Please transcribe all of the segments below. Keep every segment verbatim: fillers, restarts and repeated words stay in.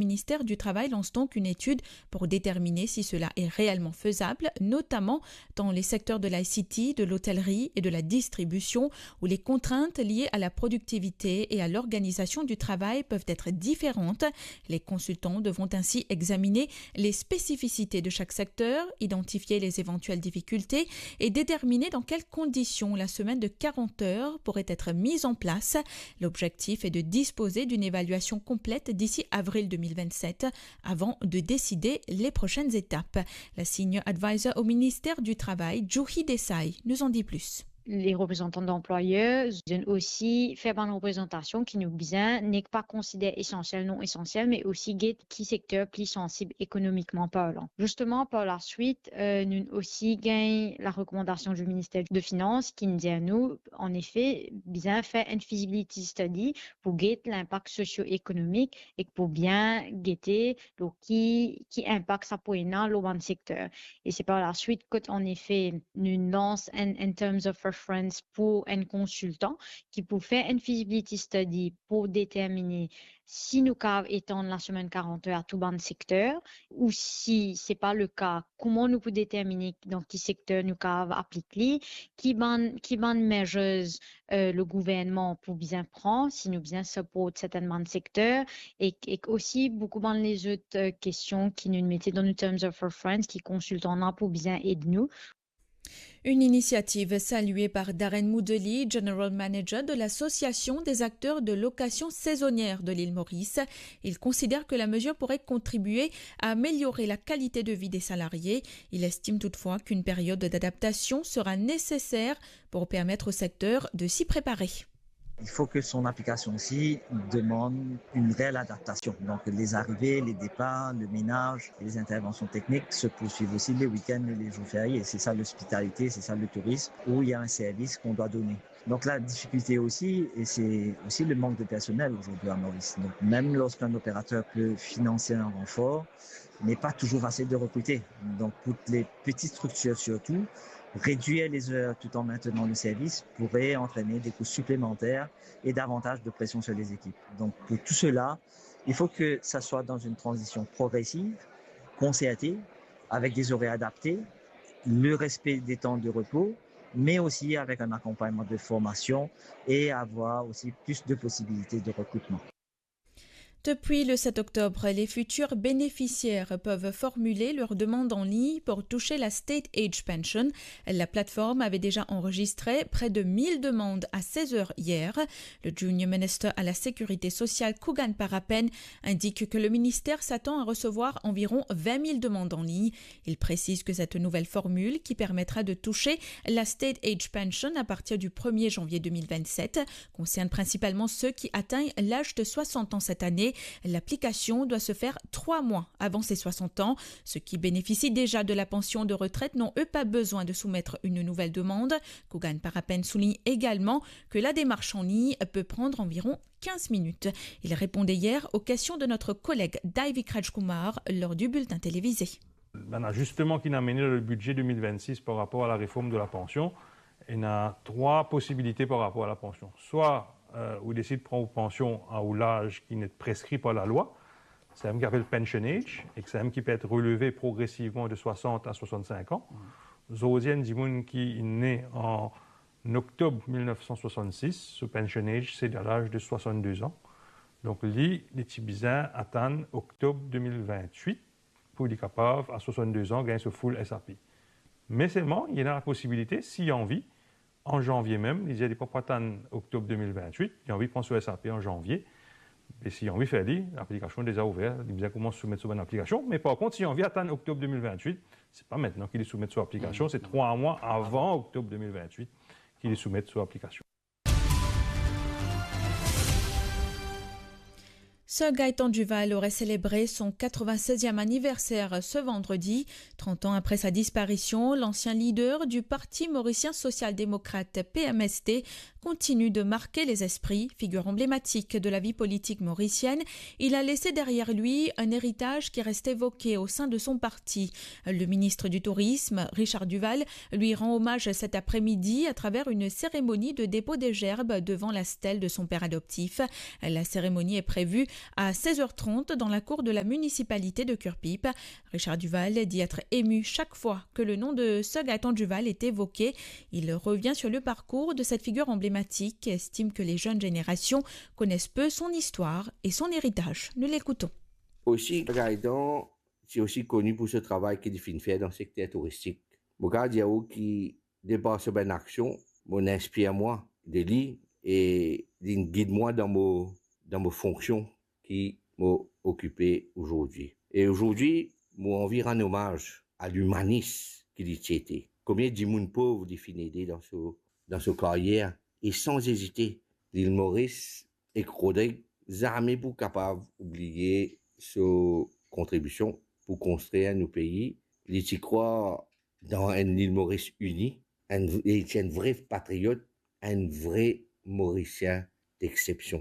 Le ministère du Travail lance donc une étude pour déterminer si cela est réellement faisable, notamment dans les secteurs de l'I C T, de l'hôtellerie et de la distribution, où les contraintes liées à la productivité et à l'organisation du travail peuvent être différentes. Les consultants devront ainsi examiner les spécificités de chaque secteur, identifier les éventuelles difficultés et déterminer dans quelles conditions la semaine de quarante heures pourrait être mise en place. L'objectif est de disposer d'une évaluation complète d'ici avril deux mille vingt-sept avant de décider les prochaines étapes. La senior advisor au ministère du Travail, Juhi Desai, nous en dit plus. Les représentants d'employeurs donnent aussi, fait une représentation qui nous bizin n'est pas considéré essentiel, non essentiel, mais aussi get qui secteur plus sensible économiquement parlant. Justement, par la suite, euh, nous aussi gagnons la recommandation du ministère de Finances qui nous dit à nous, en effet, bien faire une feasibility study pour get l'impact socio-économique e pou bien gete lor ki, ki inpak sa pou ena lor bann sekter. E se par la suit kot, an efe, nou lans enn, in terms of reference pou enn konsiltan ki pou fer enn feasibility study pou determine si nou kav etann lasemenn karant er a tou bann sekter, ou si se pa le ka, kouma nou pou determine dan ki sekter nou kav aplik li, ki bann, ki bann measures, euh, le gouvernman pou bizin pran, si nou bizin support sertenn bann sekter, e, e osi boukou bann lezot, euh, kestion ki nou mete dan nou terms of reference, ki konsiltan la pou bizin ed nou. Une initiative saluée par Darren Moodley, General Manager de l'Association des acteurs de location saisonnière de l'île Maurice. Il considère que la mesure pourrait contribuer à améliorer la qualité de vie des salariés. Il estime toutefois qu'une période d'adaptation sera nécessaire pour permettre au secteur de s'y préparer. Il faut que son application aussi demande une réelle adaptation. Donc, les arrivées, les départs, le ménage, les interventions techniques se poursuivent aussi les week-ends et les jours fériés. C'est ça l'hospitalité, c'est ça le tourisme, où il y a un service qu'on doit donner. Donc, la difficulté aussi, et c'est aussi le manque de personnel aujourd'hui à Maurice. Donc, même lorsqu'un opérateur peut financer un renfort, n'est pas toujours facile de recruter. Donc, pour les petites structures surtout, réduire les heures tout en maintenant le service pourrait entraîner des coûts supplémentaires et davantage de pression sur les équipes. Donc, pour tout cela, il faut que ça soit dans une transition progressive, concertée, avec des horaires adaptés, le respect des temps de repos, mais aussi avec un accompagnement de formation et avoir aussi plus de possibilités de recrutement. Depuis le sept octobre, les futurs bénéficiaires peuvent formuler leur demande en ligne pour toucher la State Age Pension. La plateforme avait déjà enregistré près de mille demandes à seize heures hier. Le Junior Minister à la Sécurité sociale, Kugan Parapen, indique que le ministère s'attend à recevoir environ vingt mille demandes en ligne. Il précise que cette nouvelle formule, qui permettra de toucher la State Age Pension à partir du premier janvier deux mille vingt-sept, concerne principalement ceux qui atteignent l'âge de soixante ans cette année. L'application doit se faire trois mois avant ses soixante ans. Ceux qui bénéficient déjà de la pension de retraite n'ont, eux, pas besoin de soumettre une nouvelle demande. Kugan Parapen souligne également que la démarche en ligne peut prendre environ quinze minutes. Il répondait hier aux questions de notre collègue Daivik Rajkumar lors du bulletin télévisé. Bann azisman ki inn amenn dan le bidze de mil vennsis par rapor a lareform de lapansion, ena trwa posibilite par rapor a lapansion. Swa, euh, ou desid pran ou pansion a ou laz ki inn preskri par lalwa, sa mem ki apel pension age, e sa mem ki pe et releve progresivman de swasant a swasannsink an. Zordi, enn dimoun ki ne an oktob mil nef san swasannsis, so pension age se a laz de swasanndez an. Donk li, li ti bizin atann oktob de mil vintwit pou li kapav, a swasanndez an, gagn so full S A P. Me selman, li ena posibilite, si li anvi, an zanvie mem, li dir li pa pou atann oktob de mil vintwit, li anvi pran so S A P an zanvie, e si li anvi fer li, laplikasion deza ouver, li bizin koumans soumet so bann aplikasion, me par kont, si li anvi atann oktob de mil vintwit, se pa mintnan ki li soumet so aplikasion, se trwa mwa avan oktob de mil vintwit ki li soumet so aplikasion. Sir Gaëtan Duval aurait célébré son quatre-vingt-seizième anniversaire ce vendredi. Trente ans après sa disparition, l'ancien leader du Parti mauricien social-démocrate, P M S D, continue de marquer les esprits. Figure emblématique de la vie politique mauricienne, il a laissé derrière lui un héritage qui reste évoqué au sein de son parti. Le ministre du Tourisme, Richard Duval, lui rend hommage cet après-midi à travers une cérémonie de dépôt des gerbes devant la stèle de son père adoptif. La cérémonie est prévue À seize heures trente, dans la cour de la municipalité de Curepipe, Richard Duval dit être ému chaque fois que le nom de Sir Gaëtan Duval est évoqué. Il revient sur le parcours de cette figure emblématique et estime que les jeunes générations connaissent peu son histoire et son héritage. Nous l'écoutons. Osi, Gaëtan, ti osi koni pou so travay ki li finn fer dan sekter touristik. Mo kapav dir ou ki, de par so bann aksion, mo inspir mwa de li e li gid mwa dan mo, dan mo fonksion ki mo okipe azordi. E azordi, mo anvi rann omaz a limanis ki li ti ete. Konbien dimoun pov li finn ede dan so, dan so karyer, e san ezite, Lil Moris ek Rodrig zame pou kapav oubliye so kontribision pou konstrir nou pei. Li ti krwar dan enn Lil Moris ini, enn, li ti enn vre patriot, enn vre Morisien d'exception.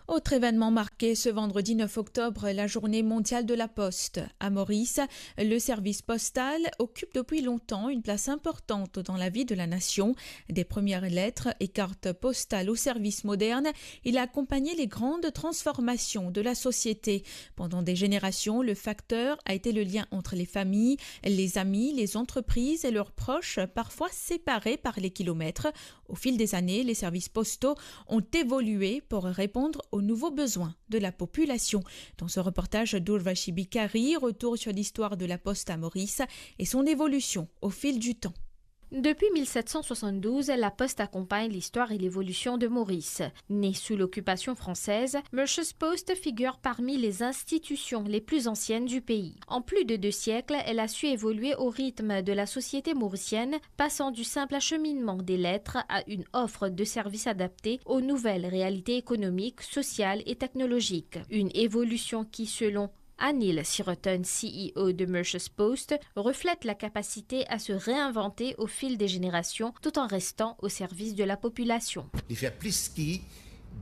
Autre événement marqué ce vendredi neuf octobre, la journée mondiale de la poste. À Maurice, le service postal occupe depuis longtemps une place importante dans la vie de la nation. Des premières lettres et cartes postales au service moderne, il a accompagné les grandes transformations de la société. Pendant des générations, le facteur a été le lien entre les familles, les amis, les entreprises et leurs proches, parfois séparés par les kilomètres. Au fil des années, les services postaux ont évolué pour répondre aux nouveaux besoins de la population. Dans ce reportage d'Urvashi Bikari, retour sur l'histoire de la poste à Maurice et son évolution au fil du temps. Depuis mille sept cent soixante-douze, la Poste accompagne l'histoire et l'évolution de Maurice. Née sous l'occupation française, Mercier's Post figure parmi les institutions les plus anciennes du pays. En plus de deux siècles, elle a su évoluer au rythme de la société mauricienne, passant du simple acheminement des lettres à une offre de services adaptée aux nouvelles réalités économiques, sociales et technologiques. Une évolution qui, selon Anil Sirottan, C E O de Mercier's Post, reflète la capacité à se réinventer au fil des générations tout en restant au service de la population. Li fer plis ki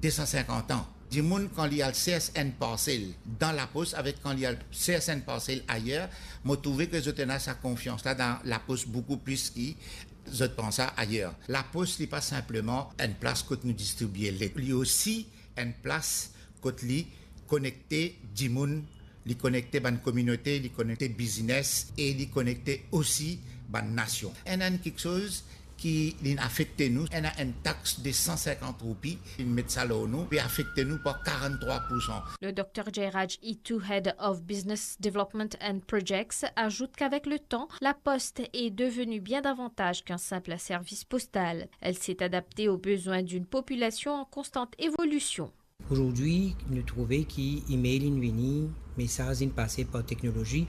de san sinkant an. Dimoun, kan li al sers enn parsel dan lapos avek kan li al sers enn parsel ayer, mo trouve ke zot ena sa konfians la dan lapos boukou plis ki zot pran sa ayer. Lapos, li pa sinpleman enn plas kot nou distribie let. Li osi enn plas kot li konekte dimoun, li konekte bann kominote, li konekte biznes e li konekte osi bann nasion. Ena enn kiksoz ki li afekte nou, ena enn tax de san sinkant roupi, li met sa lor nou, pe afekte nou par karanntrwa poursan. Le docteur Jairaj Itu, Head of Business Development and Projects, ajoute qu'avec le temps, la Poste est devenue bien davantage qu'un simple service postal. Elle s'est adaptée aux besoins d'une population en constante évolution. Azordi, nou trouve ki email inn vini, mesaz inn pase par teknolozi.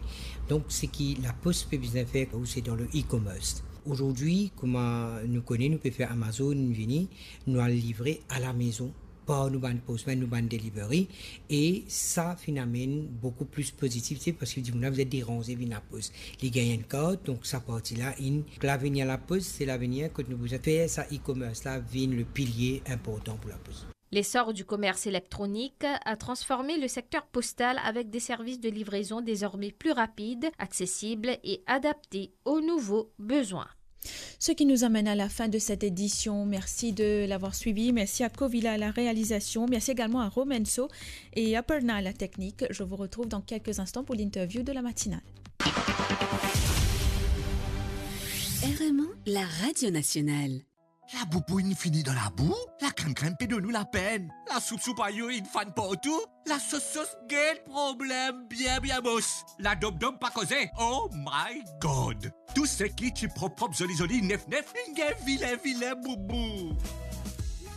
Donk, seki lapos pe bizin fer, ou se dan le e-commerce. Azordi, kouma nou kone, nou pe fer Amazon inn vini, nou al livre a la mezon par nou bann postman, nou bann delivery, e sa finn amenn boukou plis pozitivite, parski dimoun la bizin deranze vinn lapos. Li gagn enn kart, donk sa parti la inn. Lavenir lapos, se lavenir kot nou bizin fer sa e-commerce la vinn le pilie inportan pou lapos. L'essor du commerce électronique a transformé le secteur postal avec des services de livraison désormais plus rapides, accessibles et adaptés aux nouveaux besoins. Ce qui nous amène à la fin de cette édition. Merci de l'avoir suivi. Merci à Covila à la réalisation. Merci également à Romenso et à Perna à la technique. Je vous retrouve dans quelques instants pour l'interview de la matinale. R M O, la radio nationale. Laboubou inn fini dan labou, lakrennkrenn pe donn nou lapenn, lasoup soupayo inn fann partou, lasos sos gagn problem bien bien mos, ladomdom pa koze, oh my God! Tou seki ti prop prop, zoli zoli, nef nef, inn gagn vilin vilin boubou.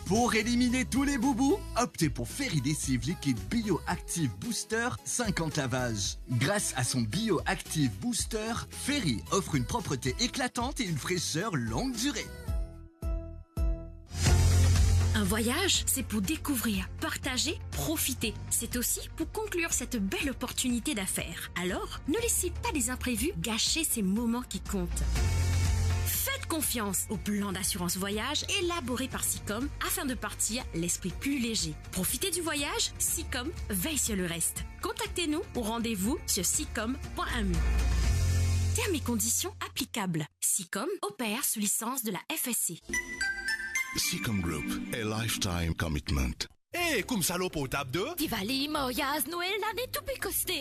Pour éliminer tous les boubous, optez pour Ferry Lessive Liquide Bio Active Booster cinquante lavages. Grâce à son Bio Active Booster, Ferry offre une propreté éclatante et une fraîcheur longue durée. Un voyage, c'est pour découvrir, partager, profiter. C'est aussi pour conclure cette belle opportunité d'affaires. Alors, ne laissez pas les imprévus gâcher ces moments qui comptent. Faites confiance au plan d'assurance voyage élaboré par Sicom afin de partir l'esprit plus léger. Profitez du voyage, Sicom veille sur le reste. Contactez-nous ou rendez-vous sur sicom point M U. Termes et conditions applicables. Sicom opère sous licence de la F S C. Sicom Group, a lifetime commitment. Eh, koumsa lor portab de? Divali, maryaz, Nwel, lane tou pe koste.